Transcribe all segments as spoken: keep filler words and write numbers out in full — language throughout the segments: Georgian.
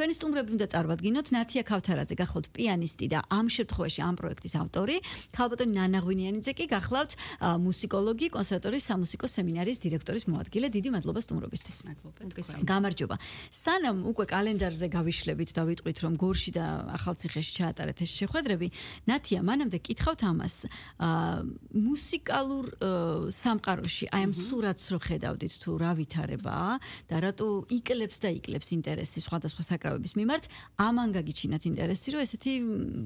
ჩვენი სტუმრები უნდა წარვადგინოთ ნათია ქავთარაძე გახლავთ პიანისტი და ამ შემთხვევაში ამ პროექტის ავტორი, ქალბატონი ნანა ღვინიანიძე კი გახლავთ მუსიკოლოგი, კონსერვატორიის სამუსიკო სემინარიის დირექტორის მოადგილე. დიდი მადლობა სტუმრობისთვის. მადლობა. გამარჯობა. სანამ უკვე კალენდარზე გავიშლებით და ვიტყვით რომ გორში და ახალციხეში ჩაატარეთ ეს შეხვედრები, ნათია, მანამდე კითხავთ ამას. მუსიკალურ სამყაროში აი ამ სურათს რო ხედავდით თუ რა ვითარებაა და რატო იკლებს და იკლებს ინტერესი სხვადასხვა საკრავების მიმართ, ამან გაგიჩინათ ინტერესი, რომ ესეთი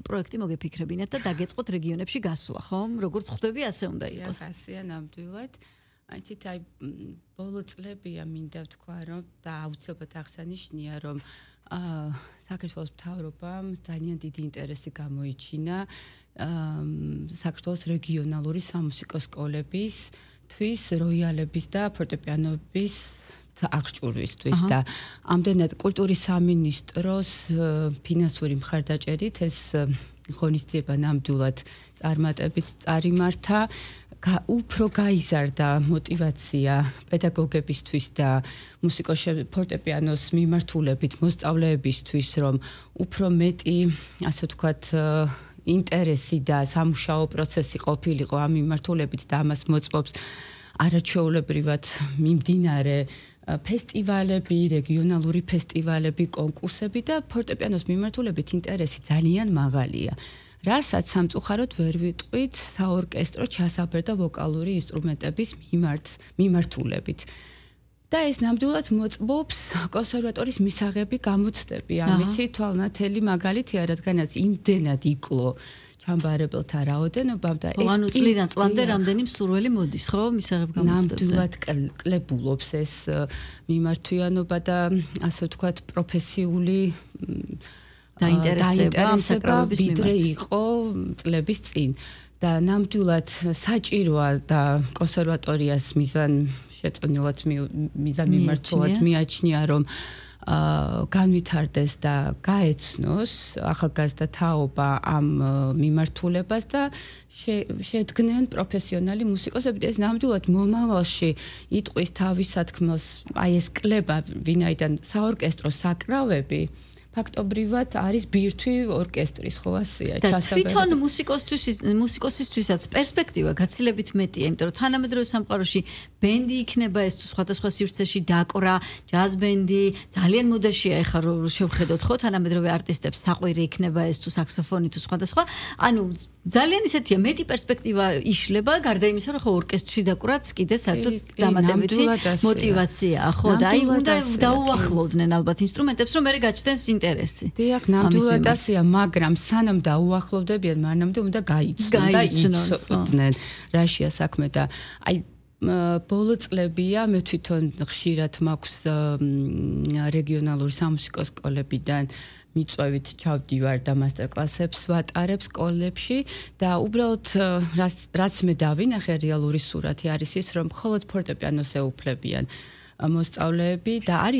პროექტი მოგეფიქრებინათ და დაგეწყოთ რეგიონებში გასვლა, ხო? როგორც ხვდები, ასე უნდა იყოს. ასეა ნამდვილად. აიცით, აი ბოლო წლებია მინდა ვთქვა, რომ და აუცილებლად აღსანიშნია, რომ აა საქართველოს მთავრობამ ძალიან დიდი ინტერესი გამოიჩინა საქართველოს რეგიონალური სამუსიკო სკოლების თვის როიალების და ფორტეპიანოების აღჭურვისთვის და ამდენად კულტურის სამინისტროს ფინანსური მხარდაჭერით ეს ღონისძიება ნამდვილად წარმატებით წარიმართა. უფრო გაიზარდა мотиваცია პედაგოგებისთვის და მუსიკოს ფორტეპიანოს მიმართულებით მოსწავლეებისთვის, რომ უფრო მეტი, ასე ვთქვათ, ინტერესი და სამუშაო პროცესი ყოფილიყო ამ მიმართულებით და ამას მოწმობს არაჩვეულებრივად მიმდინარე ფესტივალები, რეგიონალური ფესტივალები, კონკურსები და ფორტეპიანოს მიმართულებით ინტერესი ძალიან მაღალია. რასაც სამწუხაროდ ვერ ვიტყვით საორკესტრო ჩასაბერ და ვოკალური ინსტრუმენტების მიმართ მიმართულებით. და ეს ნამდვილად მოწმობს კონსერვატორის მისაღები გამოცდები. ამისი თვალნათელი მაგალითია, რადგანაც იმდენად იკლო ჩამბარებელთა რაოდენობამ და ეს ანუ წლიდან წლამდე რამდენი მსურველი მოდის, ხო, მისაღებ გამოცდებზე. ნამდვილად კლებულობს ეს მიმართვიანობა და ასე ვთქვათ პროფესიული დაინტერესება ამ საკრავების ვიდრე იყო წლების წინ და ნამდვილად საჭიროა და კონსერვატორიას მიზან შეწონილად მიზან მიმართულად მიაჩნია რომ განვითარდეს და გაეცნოს ახალგაზრდა თაობა ამ მიმართულებას და შედგნენ პროფესიონალი მუსიკოსები. ეს ნამდვილად მომავალში იტყვის თავის სათქმელს, აი ეს კლება ვინაიდან საორკესტრო საკრავები ფაქტობრივად არის ბირთვი ორკესტრის, ხო ასეა ჩასაბერი. და თვითონ მუსიკოსთვის მუსიკოსისთვისაც პერსპექტივა გაცილებით მეტია, იმიტომ რომ თანამედროვე სამყაროში ბენდი იქნება ეს თუ სხვადასხვა სივრცეში დაკვრა, ჯაზ ბენდი, ძალიან მოდაშია ეხლა რომ შევხედოთ, ხო, თანამედროვე არტისტებს საყვირი იქნება ეს თუ საქსოფონი თუ სხვადასხვა. ანუ ძალიან ისეთია მეტი პერსპექტივა იშლება, გარდა იმისა, რომ ხო ორკესტრში დაკვრაც კიდე საერთოდ დამატებითი мотиваციაა, ხო, და აი უნდა დაუახლოვდნენ ალბათ ინსტრუმენტებს, რომ მერე გაჩნდეს ინტერესი. დიახ, ნამდვილად ასეა, მაგრამ სანამ დაუახლოვდებიან, მანამდე უნდა გაიცნონ და იცოდნენ რაშია საქმე და აი ბოლო წლებია მე თვითონ ხშირად მაქვს რეგიონალური სამუსიკო სკოლებიდან მიწვევით ჩავდივარ და მასტერკლასებს ვატარებ სკოლებში და უბრალოდ რაც მე დავინახე რეალური სურათი არის ის, რომ მხოლოდ ფორტეპიანოს ეუფლებიან მოსწავლეები და არის